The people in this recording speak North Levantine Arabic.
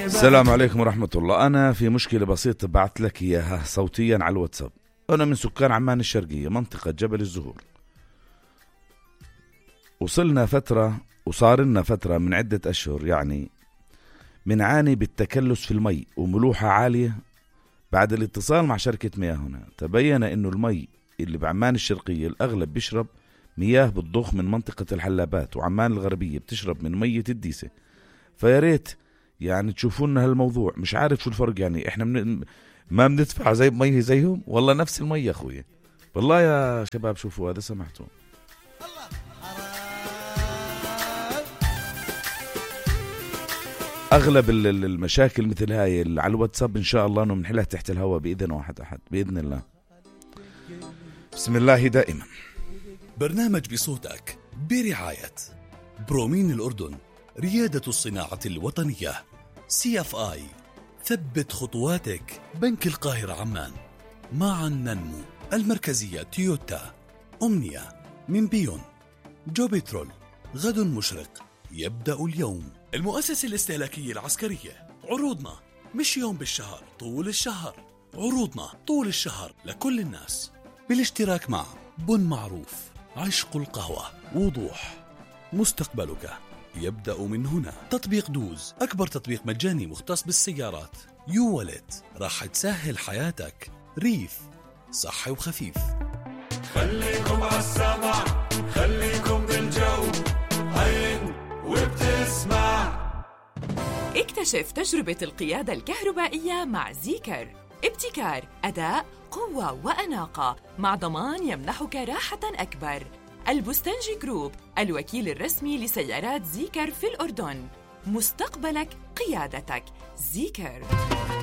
السلام عليكم ورحمة الله. أنا في مشكلة بسيطة بعت لك إياها صوتيا على الواتساب. أنا من سكان عمان الشرقية، منطقة جبل الزهور. وصلنا فترة وصار لنا فترة من عدة أشهر يعني منعاني بالتكلس في المي وملوحة عالية. بعد الاتصال مع شركة مياه هنا تبين إنه المي اللي بعمان الشرقية الأغلب بيشرب مياه بتضخ من منطقة الحلابات، وعمان الغربية بتشرب من مية الديسة. فياريت يعني تشوفون هالموضوع. مش عارف شو الفرق، يعني احنا ما بندفع زي مية زيهم والله نفس المية أخويا. والله يا شباب شوفوا هذا سمعتوا. أغلب المشاكل مثل هاي على الواتساب إن شاء الله إنه بنحلها تحت الهواء بإذن واحد أحد بإذن الله. بسم الله دائما. برنامج بصوتك برعاية برومين الأردن، ريادة الصناعة الوطنية. CFI، ثبت خطواتك. بنك القاهرة عمان، معا ننمو. المركزية تويوتا. أمنية من بيون. جوبيترول، غد مشرق يبدأ اليوم. المؤسسة الاستهلاكية العسكرية، عروضنا مش يوم بالشهر، طول الشهر. عروضنا طول الشهر لكل الناس بالاشتراك مع بن معروف، عشق القهوة، وضوح. مستقبلك يبدأ من هنا. تطبيق دوز، أكبر تطبيق مجاني مختص بالسيارات. يو والت، راح تسهل حياتك. ريف، صحي وخفيف. خليكم عالسمع، خليكم بالجو، هين وبتسمع. اكتشف تجربة القيادة الكهربائية مع زيكر. ابتكار، أداء، قوة وأناقة، مع ضمان يمنحك راحة أكبر. البستنجي جروب، الوكيل الرسمي لسيارات زيكر في الأردن. مستقبلك قيادتك. زيكر.